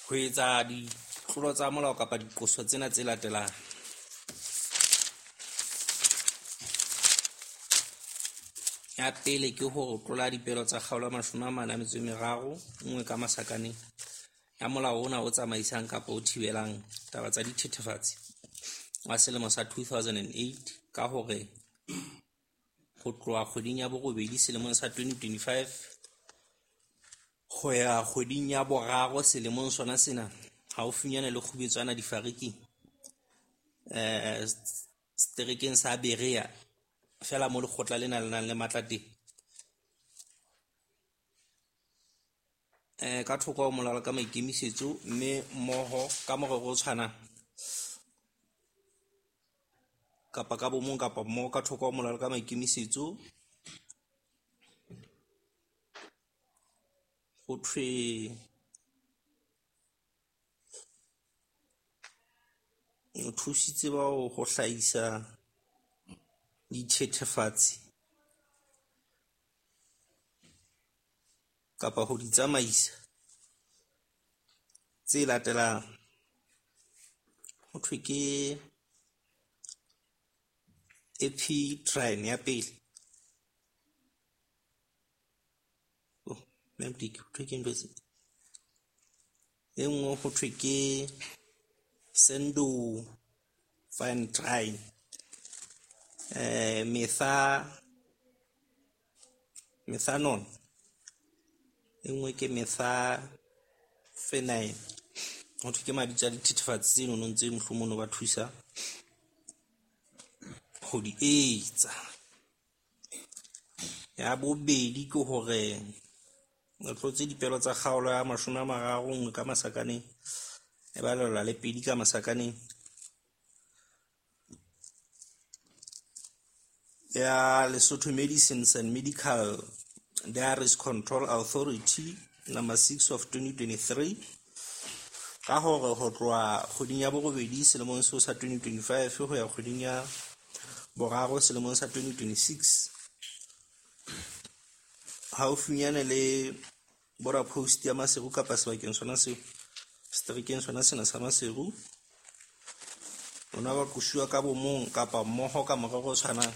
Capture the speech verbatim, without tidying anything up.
Ho etsa ditlolo tsa molao kapa diqoso tsena tse latelang. Ya pele ke hore o tlola dipelo tsa kgaolo ya mashome a mane a metso e meraro, nngwe ka masakaneng ya molao ona o tsamaisang kapa o thibelang taba tsa dithethefatsi wa selemo sa two thousand and eight. Ka hore ho tloha kgweding ya borobedi selemong sa twenty twenty-five ho ya kgweding ya boraro selemong sona sena, haufinyane le Kgubetswana Difariking seterekeng sa Berea feela mo lekgotla lena le nang le matla teng. Ka thoko ho molao ka maikemisetso mme mmoho ka morero o tshwanang kapa ka bo mong kapa mmoho ka thoko ho molao ka maikemisetso. Ho thwe o thusitse bao ho hlahisa dithethefatsi kapa ho di tsamaisa tse latelang. Ho thwe ke ya pele. Oh ho thwe ke ntho tse. E nngwe ho thwe ke metha methanol. E nngwe ke metha . Ho thwe ke mabitso a dithethefatsi tse nonong tse mohlomong o ba thusa ho di etsa. Ya bobedi ke hore o tlotse dipelo tsa kgaolo ya mashome a mararo nngwe ka masakaneng e balelwa le pedi ka masakaneng. Ya Lesotho Medicines and Medical Diaries Control Authority number six of twenty twenty-three. Ka hore ho tloha kgweding ya borobedi selemong seo sa twenty twenty-five ho ya kgweding ya boraro selemong sa twenty twenty-six. Haufinyane le border post ya Maseru kapa sebakeng sona seo, seterekeng sona sena sa Maseru. Ona ba qosuwa ka bo mong kapa mmoho ka morero o tshwanang.